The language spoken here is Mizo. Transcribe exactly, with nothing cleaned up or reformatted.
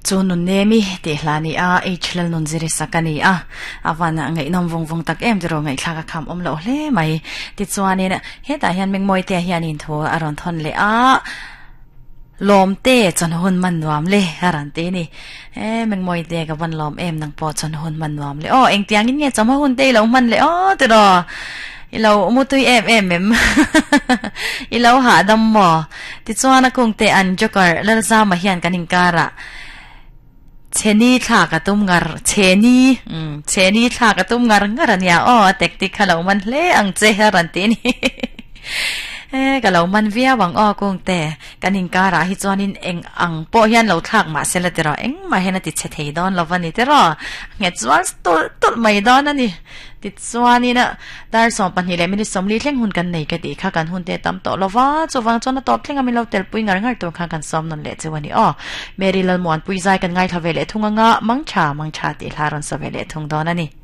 Chu nun nemi ti hlani a h lal nun ziri sakani a awan ngai nom vung vung tak em dro ngai thlaka kham om lo hle mai ti chuanin heta hian mengmoi te hian in thu aron thon le a lom te chon hun man nuam le haran te ni e mengmoi te ka van lom em nang po chon hun man nuam le o eng tiang in nge chama hun te lo man le o te ro ilo mutui em em em ilo ha dam mo ti chuan a kung te an joker lal za ma hian kanin kara cheni thla ka tum ngar cheni um cheni thla ka tum ngar ngar ania o tek tik khalo man hle ang che haran te ni e ka lo man via wang o kung te kanin kara hi chuanin eng ang po hian lo thlak ma sela tero eng ma hena ti che thei don lovani tero nge chuan tul tul mai don ani ti chuanin a dar som pahnih leh minute sawmli thleng hun kan nei ka ti kha kan hun te tam tawh lova chuwang chuan a tawp thleng a min lo tel pui ngar ngar tur kha kan sawm nawn leh chu ani aw Mary Lalmuan pui zai kan ngai thla ve leh thung anga mangtha mangtha ti hla rawn sa ve leh thung dawn ani.